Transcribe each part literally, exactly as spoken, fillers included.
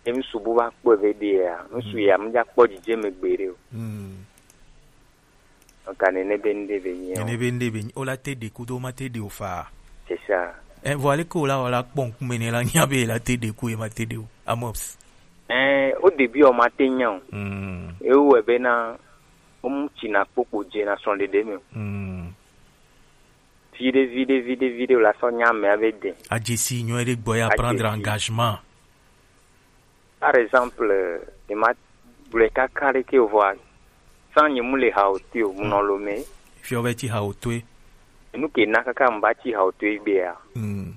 Emi subu va kpɔ ve ɖe ya, ŋsu ya mu dza kpɔ dzidze me gbeɖe o. Mm. Ɔka nene be ŋɖe be nyi o. Nene be ŋɖe be nyi o la te ɖe kudo ma te ɖe o fa. C'est ça. Eh, vɔ ale ke o la o la kpɔ ŋkume ne la nya be la te ɖe ku ye ma te ɖe o. Amos. Eh, o début o ma te nya o. Mm. E o be na o mu tsi na kpokpo dze na srɔ̃ɖeɖe me o. Mm. Viɖe, viɖe, viɖe, viɖe o la sɔ nya me ave de. Adze si nyɔ ɖe gbɔ ya prendre engagement. Par exemple, e ma gblɔe kaka ɖe ke o vɔa, sans nye mu le ha o to o, mu nɔ lo me. Fiɔ be tsi ha o toe. Nu ke na kaka mu ba tsi ha o toe gbea. Mm.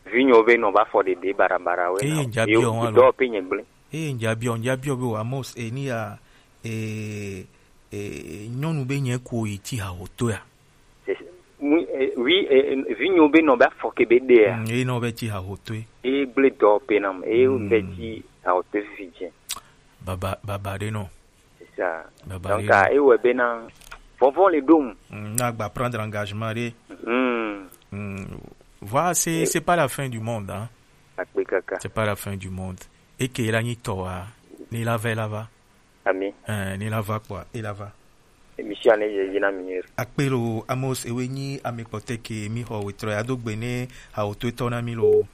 Vinyo be nɔ va fɔ ɖeɖe barabara we. Eye na ŋdza biɔ ŋu alo? Dɔ pe nye gblẽ. Eye ŋdza biɔ, ŋdza biɔ be o Amos, e ni ya, e, e, nyɔnu be nye ko yi tsi ha o toea. Oui, eh, oui, eh, eh, vinyo be nɔ be afɔ ke be ɖea. Mm, eye nɔ be tsi ha ho toe. Eye gblẽ dɔ pe nam, eye be tsi ha ho toe vivi dze. Baba, baba ɖe nɔ. C'est ça. Baba. Donc, ah, eye wɔ be na vɔvɔ le ɖom. Mm, na gba prendre engagement ɖe. Mm. Mm. Voilà, c'est, c'est pas la fin du monde, hein. Akpe kaka. C'est pas la fin du monde. Eke la nyi tɔ wa, ni la va, la va. Ami. Eh, ni la va kpɔa, e la va. Émission ne ye yina mi yeri. Akpe lo Amos ewe nyi ame kpɔtɛ ke mi xɔ wetrɔ ya do gbe ne hawo to etɔ na mi lo.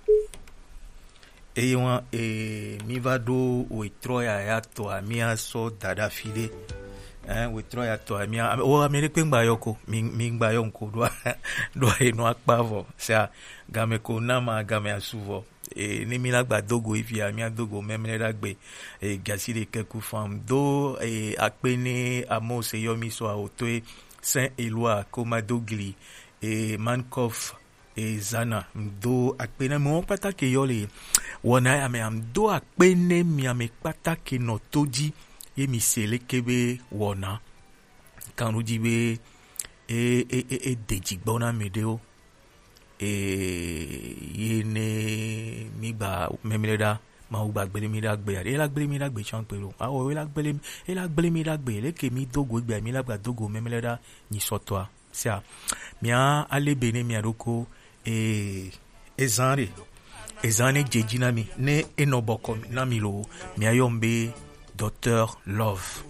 Eye wa e mi va ɖo wetrɔ ya ya tɔ ami asɔ dada fi ɖe. Eh, wetrɔ ya tɔ ami a, o ame ɖe kpe ŋgba yɔ ko, mi, mi ŋgba yɔ ŋko ɖo, ɖo eno akpa vɔ. Sia, game ko na ma, game asu vɔ. E, ne mi la gba do go ifia, mi ado go Memleɖagbe, e, gasi ɖe keku fam. Do, e, akpe ne Amos yɔ mi sɔ awo toe, Saint Eloi, Komadogli, e, Mankoff, e, Zana. Do akpe ne mo kpata ke yɔ le wɔna ya me am. Do akpe ne mi ame kpata ke nɔ to dzi, ye mi se leke be wɔna. Kan ɖo dzi be, e, e, e, e de dzi gbɔ na mi ɖewo. E, ye ne mi gba Memleɖa, Mawu gba gble mi ɖa gbe, ye la gble mi ɖa gbe tsã gbe lo. Awo, ye la gble mi, ye la gble mi ɖa gbe, leke mi do go gbe, mi la gba do go Memleɖa nyi sɔtɔa. Sia, mia ale be ne mia ɖoko, e, ezan ɖe, ezan ne dze dzi na mi, ne enɔ bɔkɔ na mi lo, mia yɔ be Docteur Love.